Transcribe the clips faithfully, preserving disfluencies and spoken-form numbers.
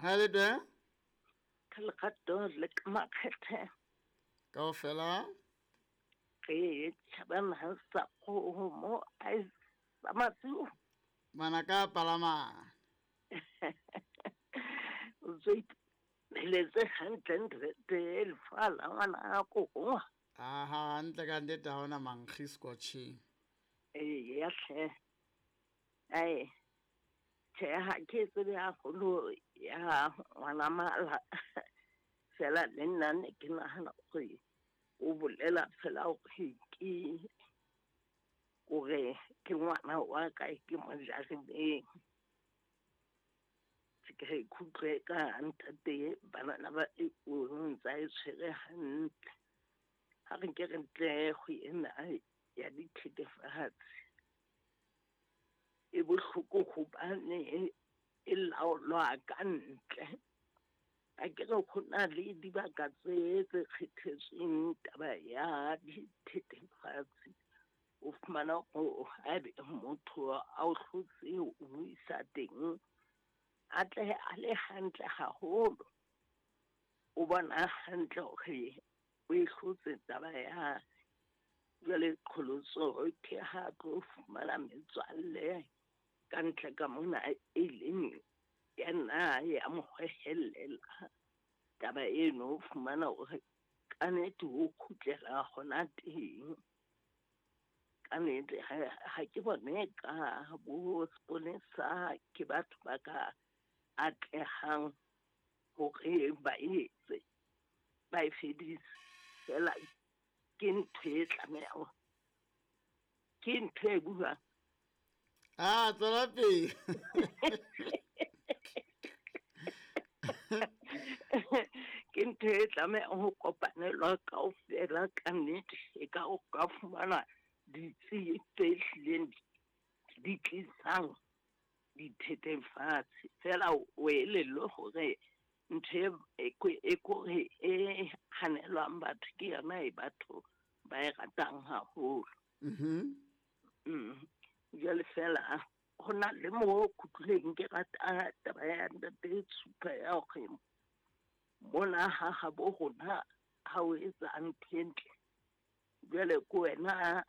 Ha le teng? Ka lerato le ka makgethe. Kaofela? Re tjhabana sa kgomo a e sa masiu. Manaka a palama. O tswe pheletse hantle ntate lefala ngwana ko. Aha, hantle ka nnete ha hona mankgi scotching. Ee, ya hle. Ai. Tjhe, ha ke tsebe haholo ya ngwana mala. Fela le nna ne ke nahana hore o bolela fela hore ke hore ke ngwana wa ka ke mo jarileng. Ke re ikutlwe ka ntate banana ba e o ntsa e tshwere hantle. Ha re nke re ntle go ena ya dithethefatsi. E bohloko hobane e laolwa ka ntle. A ke re ho na le dibaka tse tse kgethetsweng taba ya dithethefatsi. O fumana hore haebe motho a o hlotse o mo isa teng, a tle a le hantle haholo. O bona hantle hore o e hlotse taba ya jwale qholotso ke ha tlo fumana metswalle ka ntle ka mona e leng ya nna ya mo hohellela taba eno, o fumana hore ka nnete o kgutlela hona teng. Ka nnete ha ke bone ka bo seponesa ke batho ba ka atlehang hore ba etse ba e fedise. Fela ke ntho e tlamehang, ke ntho e buang. Ah, tswela pele. Ke ntho e tlamehang ho kopanelwa kaofela ka nnete. E ka o ka fumana ditsi tse hlileng di tlisang dithethefatsi. Fela o elellwe hore ntho e e kore e hanelwang batho ke yona e batho ba e ratang haholo. Mhm. Mm. Jwale fela ho na le mo kutlwileng ke rata taba ya ntate Tshupa ya hore mona ha habo rona ha o etsa ntho e ntle, jwale ke wena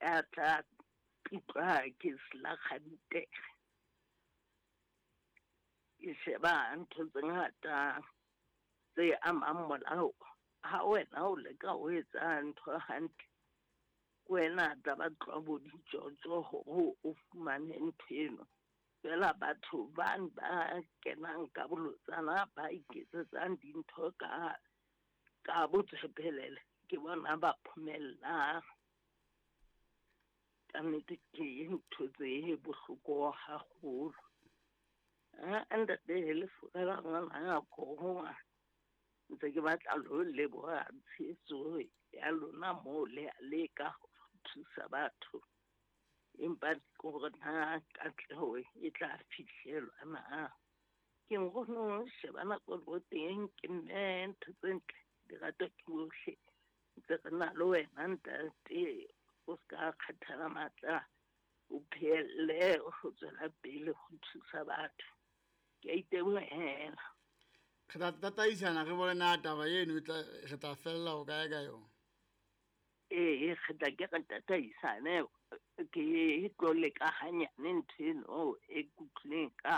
ya tla pitlwa ke selakgantere. Ke sheba ntho tse ngata tse amang molao. Ha wena o leka ho etsa ntho hantle, ke wena tla ba tloha bo ditjotjo hore o fumane ntho eno. Fela batho bane ba kenang ka bolotsana ba iketsetsang dintho ka ka botswepelele ke bona ba phomellang. Ka nnete ke ntho tse bohloko haholo. Ah, ntate le furela ngwana ko ntse ke batla lo leboha tshehetso ya lona moo le a leka ho thusa batho. Empa ke hore na katleho e tla fihlelwa na. Ke nkgono sheba nako le teng ke mme ntho tse ntle di ratwa ke bohle. Ntse re na le wena ntate, o ska kgathala matla, o phehelle ho tswela pele ho thusa batho. Ke a itebohela. Re tla tataisana re bone na taba eno e tla re tla fella ho kae ka yona. Ee, re tla ke re tataisane ke tlo leka hanyane ntho eno e kutlwileng ka